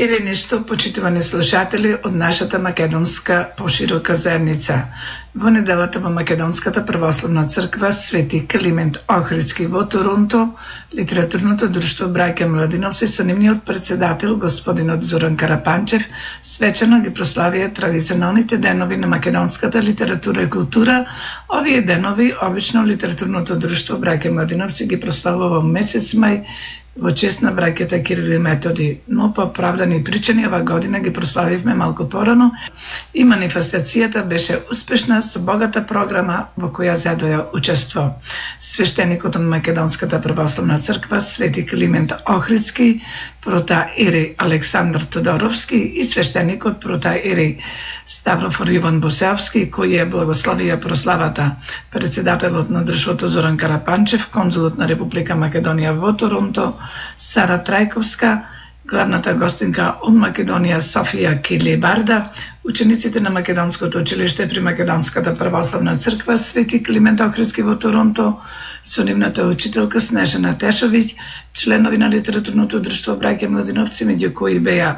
Или нешто, почитувани слушатели од нашата македонска поширока заедница. Во неделата во Македонската православна црква Свети Климент Охридски во Торонто, литературното друштво Браќа Младиновци со нивниот председател господинот Зоран Карапанчев свечено ги прославија традиционалните денови на македонската литература и култура. Овие денови обично литературното друштво Браќа Младиновци ги прославува во месец мај во чест на браќата Кирил и Методи, но по оправдани причини ова година ги прославивме малку порано и манифестацијата беше успешна со богата програма во која задоја учество. Свештеникот од Македонската православна црква Свети Климент Охридски, протоиерей Александар Тодоровски и свештеникот протоиерей Ставрофор Иван Босеовски, кои ја благословија прославата. Председателот на друштвото Зоран Карапанчев, конзулот на Република Македонија во Торонто Сара Трајковска, главната гостинка од Македонија Софија Килибарда, учениците на Македонското училиште при Македонската православна црква Свети Климент Охридски во Торонто, со нивната учителка Снежана Тешовиќ, членови на литературното друштво Браќа Младиновци, меѓу кои беа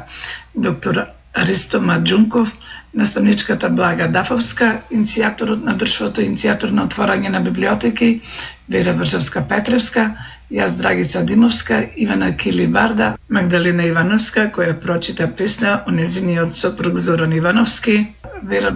доктор Аристо Маджунков, наставничката Блага Дафовска, иницијаторот на друштвото, иницијатор на отворање на библиотеки Вера Вршевска-Петревска, јас Драгица Димовска, Ивана Килибарда, Магдалина Ивановска, која прочита песна о нејзиниот сопруг Зоран Ивановски, Вера